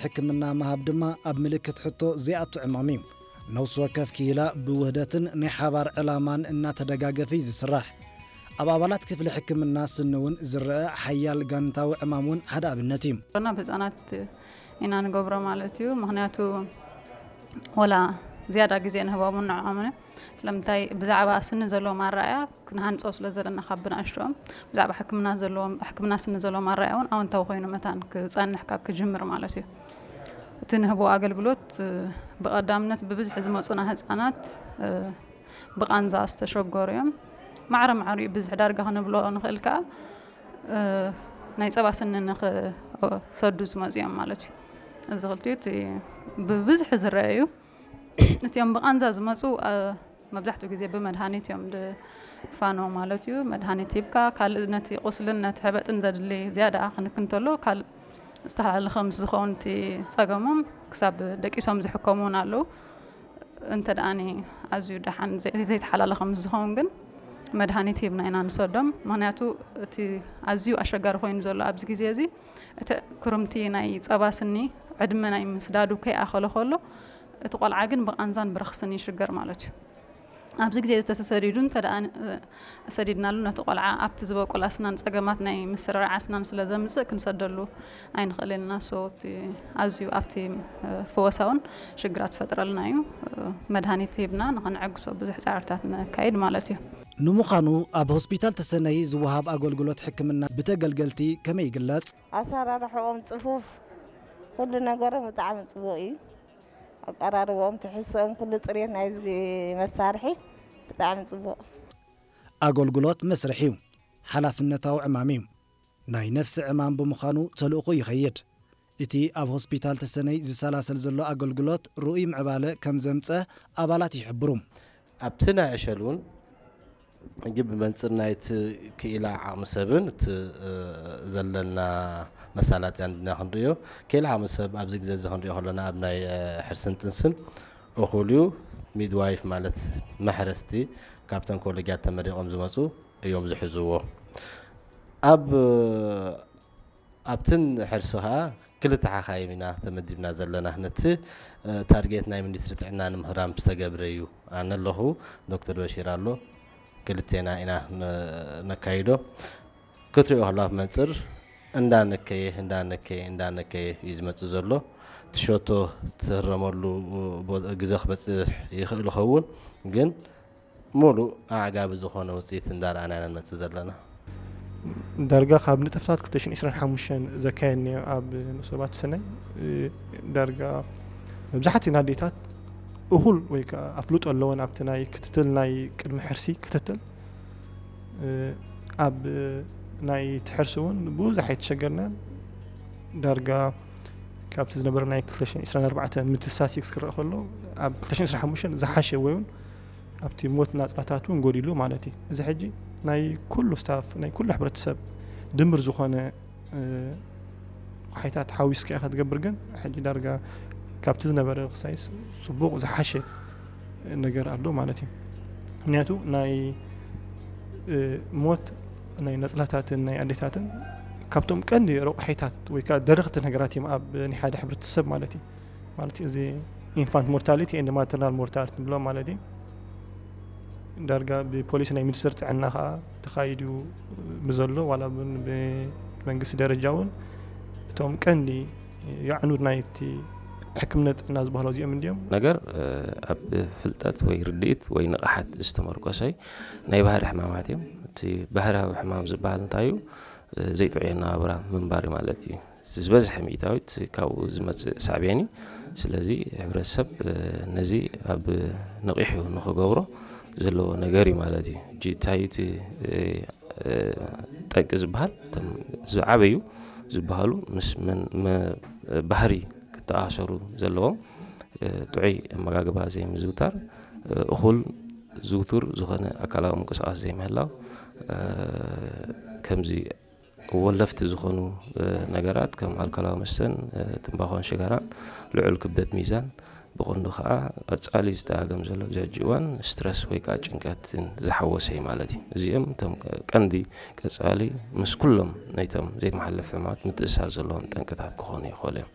ሕክምና ምሃብ ድማ ኣብ ምልክት ሕቶ ዘይኣቱ ዕማም እዩ። ነፍሲ ወከፍ ክኢላ ብውህደትን ናይ ሓባር ዕላማን እናተደጋገፈ እዩ ዝስራሕ። ኣብ ኣባላት ክፍሊ ሕክምና ስኒ እውን ዝረአ ሓያል ጋንታዊ ዕማም እውን ሓደ ኣብነት እዩ። ና ብህፃናት ኢና ንገብሮ ማለት እዩ። ምክንያቱ ወላ ዝያዳ ግዜ ንህቦምን ንዕኦምን እዮም። ስለምንታይ ብዛዕባ ስኒ ዘለዎም ኣረኣያ ክንሃንፆ ስለ ዘለና ካብ ብንኣሽትኦም ብዛዕባ ሕክምና ዘለዎም ሕክምና ስኒ ዘለዎም ኣረኣያ እውን ኣወንታዊ ኮይኑ መታን ክፀንሕ ካብ ክጅምር ማለት እዩ። እቲ ንህቦ ኣገልግሎት ብቐዳምነት ብብዝሒ ዝመፁና ህፃናት ብቓንዛ ዝተሸገሩ እዮም። ማዕረ ማዕሪኡ ብዝሒ ዳርጋ ክንብሎ ንኽእል ከዓ ናይ ፀባ ስኒ ንኽሰዱ ዝመፁ እዮም ማለት እዩ። እዚ ክልቲኡ እቲ ብብዝሒ ዝረአ እዩ። እቲኦም ብቓንዛ ዝመፁ መብዛሕትኡ ግዜ ብመድሃኒት እዮም ድፋኖ ማለት እዩ። መድሃኒት ሂብካ ካልእ ነቲ ቁስልን ነቲ ሕበጥን ዘድሊ ዝያዳ ክንክን እንተሎ ካልእ ዝተሓላለኸ ምስ ዝኸውን እቲ ፀገሞም ክሳብ ደቂሶም ዝሕከሙ እውን ኣለዉ። እንተ ደኣኒ ኣዝዩ ደሓን ዘይተሓላለኸ ምስ ዝኸውን ግን መድሃኒት ሂብና ኢና ንሰዶም። ምክንያቱ እቲ ኣዝዩ ኣሸጋሪ ኮይኑ ዘሎ ኣብዚ ግዜ እዚ እቲ ክርምቲ ናይ ፀባ ስኒ ዕድመ ናይ ምስዳዱ ከይኣኸለ ከሎ እቲ ቆልዓ ግን ብቓንዛን ብረኽስን ይሽገር ማለት እዩ። ኣብዚ ግዜ ዝተሰሰዲዱ እንተ ደኣ ሰዲድናሉ ነቲ ቆልዓ ኣብቲ ዝበቁል ኣስናን ፀገማት ናይ ምስርራዕ ኣስናን ስለ ዘምፅእ ክንሰደሉ ኣይንኽእል ኢና። ሶ እቲ ኣዝዩ ኣብቲ ፈወሳ እውን ሽግራት ፈጥረልና እዩ። መድሃኒት ሂብና ንኸነዕግሶ ብዙሕ ፃዕርታት ነካይድ ማለት እዩ። ንምዃኑ ኣብ ሆስፒታል ተሰነይ ዝወሃብ ኣገልግሎት ሕክምና ብተገልገልቲ ከመይ ይግለጽ? ኣሰራርሕኦም ጽፉፍ፣ ኩሉ ነገሮም ብጣዕሚ ጽቡቕ እዩ። ኣቀራርብኦም፣ ትሕዝቶኦም፣ ኩሉ ጽሬት ናይዚ መሳርሒ ብጣዕሚ ጽቡቕ። ኣገልግሎት መስርሕ እዩ፣ ሓላፍነታዊ ዕማም እዩ። ናይ ነፍሲ ዕማም ብምዃኑ ተልእኾ ይኸይድ። እቲ ኣብ ሆስፒታል ተሰነይ ዝሰላሰል ዘሎ ኣገልግሎት ርኡይ ምዕባለ ከም ዘምጸ ኣባላት ይሕብሩ። ኣብቲ ናይ ዕሸል እውን ሕጂ ብመንጽር ናይቲ ክኢላ ዓቕሚ ሰብን እቲ ዘለና መሳላጥያን ድና ክንርእዮ ክኢላ ዓቕሚ ሰብ ኣብዚ ግዜ እዚ ክንርእዮ ከለና ኣብ ናይ ሕርስን ጥንስን እኹል እዩ። ሚድዋይፍ ማለት መሕረስቲ ካብተን ኮሌጃት ተመሪቖም ዝመፁ እዮም ዝሕዝዎ። ኣብ ኣብትን ሕርሲ ከዓ ክልተ ሓኻይም ኢና ተመዲብና ዘለና። ነቲ ታርጌት ናይ ሚኒስትሪ ጥዕና ንምህራም ዝተገብረ እዩ። ኣነ ኣለኹ፣ ዶክተር በሺር ኣሎ፣ ክልቴና ኢና ነካይዶ። ክትሪኦ ከሎ ኣብ መንፅር እንዳነከየ እንዳነከየ እንዳነከየ እዩ ዝመፅእ ዘሎ። ትሸቶ ትህረመሉ ግዘ ክበፅሕ ይኽእል ይኸውን፣ ግን ሙሉእ ኣዕጋቢ ዝኾነ ውፅኢት እንዳረኣና ኢና ንመፅእ ዘለና። ዳርጋ ካብ ንጥፍታት ክልተ ሽሕን ዕስራን ሓሙሽተን ዘካየድናዮ ኣብ ንኡስ ዞባ ተሰነይ ዳርጋ መብዛሕትኡ ኣዴታት እኹል ወይ ከዓ ኣፍልጦ ኣለወን ኣብቲ ናይ ክትትል ናይ ቅድሚ ሕርሲ ክትትል ኣብ ናይ ትሕርሲ እውን ብዙሕ ኣይተሸገርናን። ዳርጋ ካብቲ ዝነበረ ናይ ክልተ ሽሕን ዕስራን ኣርባዕተን ምትሳሲክስ ክረአ ከሎ ኣብ ክልተ ሽሕን ዕስራን ሓሙሽተን ዝሓሸ ወይ እውን ኣብቲ ሞት ናፅላታት እውን ጎዲሉ ማለት እዩ። እዚ ሕጂ ናይ ኩሉ ስታፍ ናይ ኩሉ ሕብረተሰብ ድምር ዝኾነ ሓይታት ሓዊስካ ኢኻ ትገብር። ግን ሕጂ ዳርጋ ካብቲ ዝነበረ ክሳይስ ፅቡቕ ዝሓሸ ነገር ኣሎ ማለት እዩ። ምክንያቱ ናይ ሞት ናይ ነፅላታትን ናይ ኣዴታትን ካብቶም ቀንዲ ረቑሒታት ወይ ከዓ ደረኽቲ ነገራት እዮም ኣብ ናይ ሓደ ሕብረተሰብ ማለት እዩ። ማለት እዚ ኢንፋንት ሞርታሊቲ ኤንድ ማተርናል ሞርታሊቲ ንብሎ ማለት እዩ። ዳርጋ ብፖሊሲ ናይ ሚኒስትር ጥዕና ከዓ ተኻይዱ ብዘሎ ዋላ እውን ብመንግስቲ ደረጃ እውን እቶም ቀንዲ የዕኑድ ናይቲ ሕክምና ጥዕና ዝበሃሉ እዚኦም እንዲዮም። ነገር ኣብ ፍልጠት ወይ ርድኢት ወይ ንቕሓት ዝተመርኮሰ ናይ ባህሪ ሕማማት እዮም። እቲ ባህርያዊ ሕማም ዝበሃል እንታይ እዩ? ዘይጥዑይ ኣነባብራ ምንባር ማለት እዩ። ዝበዝሐ ሚእታዊት ካብኡ ዝመፅእ ሳዕቤን እዩ። ስለዚ ሕብረተሰብ ነዚ ኣብ ንቒሑ ንኽገብሮ ዘለዎ ነገር እዩ ማለት እዩ። ሕጂ እንታይ እቲ ጠንቂ ዝበሃል እቶም ዝዓበዩ ዝበሃሉ ምስ ባህሪ ክተኣሳሰሩ ዘለዎም ጥዑይ ኣመጋግባ ዘይምዝውታር፣ እኹል ዝውቱር ዝኾነ ኣካላዊ ምንቅስቃስ ዘይምህላው፣ ከምዚ ወለፍቲ ዝኾኑ ነገራት ከም ኣልኮላዊ መስተን ትንባኾን ሽጋራን፣ ልዑል ክብደት ሚዛን፣ ብቐንዱ ከዓ ቀፃሊ ዝተኣገም ዘሎ ኣብዚ ሕጂ እዋን ስትረስ ወይ ከዓ ጭንቀትን ዝሓወሰ እዩ ማለት እዩ። እዚኦም እቶም ቀንዲ ቀፃሊ ምስ ኩሎም ናይቶም ዘይተመሓላለፍቲ ሕማማት ምትእስሳር ዘለዎም ጠንቅታት ክኾኑ ይኽእሉ እዮም።